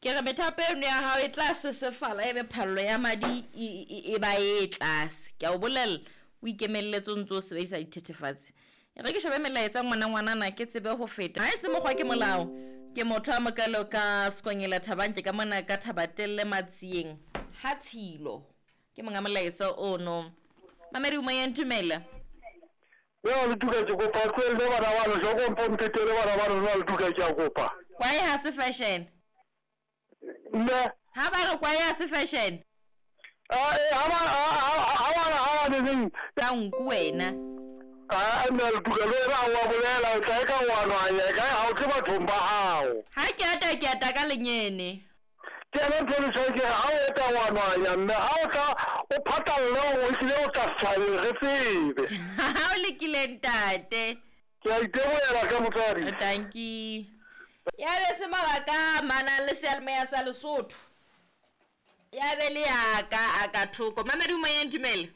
Ke re methapo eno ya hao e tla sesefala ebe phallo ya madi e ba e tlase. Ke a o bolella, o ikemelletse o ntse o sebedisa dithethefatsi. E re ke shebe melaetsa ngwana ngwanana ke tsebe ho feta. Ha e se mokgwa ke molao. Ke motho a mokalo ka Skonyela Thabang ke ka mona ka Thabatelle Matsieng ha Tshilo. Ke monga molaetsa ono. Mamedi o moyeng dumela. Mme wa Letuka ke kopa o tlohelle bana bano hloko mpo mphetele bana bano mme wa Letuka ke a kopa. Kwae ha se fashion. Mme. Ha ba re kwae ha se fashion. Ah eh ha ba ha ba ha ba neng. Ka nku wena. Ah mme wa Letuka le wena ha wa bolela o tla e ka wa nwanya e kae ha o tle bathong ba hao. Ha ke ata ke ata ka lenyene. Ke yona ntho e leswai ke re ha o eta wa nwanya mme ha o tla o phatalle hore o hlile o tla setjhabeng re tsebe. Ha o lekile ntate. Ke a itebohela hle motswadi. Tanki. Ya be se mabaka a amanang le seyalemoya sa Lesotho. Ya be le ya ka a ka thoko. Mamedi o moyeng dumela.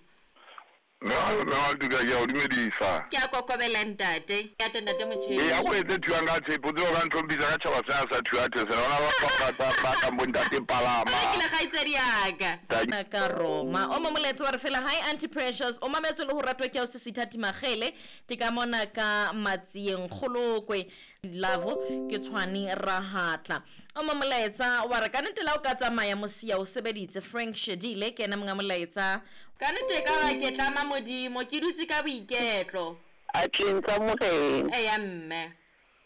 Mme wa Letuka ke a o dumedisa. Ke a kokobela ntate. Ke ate ntate Motjheng. Ee, a ko etse thuang ka tshepo, o tsebe o ka ntlhomphisa ka tjhaba sena sa Thuathe sena. Ho na le batho ba ba ba kang bo ntate Palama. O rekile kgaitsedi ya ka. Ka Roma. O mo molaetsa wa re fela hi Auntie Precious, o mametswe le ho ratwa ke ausi Sithati Makgele, ke ka mona ka Matsieng Kgolokwe. Love ke Tshwane Rahatla. O mo molaetsa wa re ka nnete la o ka tsamaya mosia o sebeditse. Frank Shedile ke yena monga molaetsa. Ka nnete e ka ba ke tlama Modimo, ke dutse ka boiketlo. Atleng tsa Morena. Eya mme.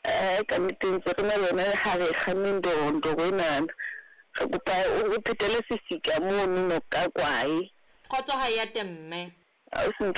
Ee, ka nnete ntse re na le yona ha re kganne ndoro enana. Re kopa o re phetele sefika mono no ka kwae. Kgotso ha e ate mme. Ausi.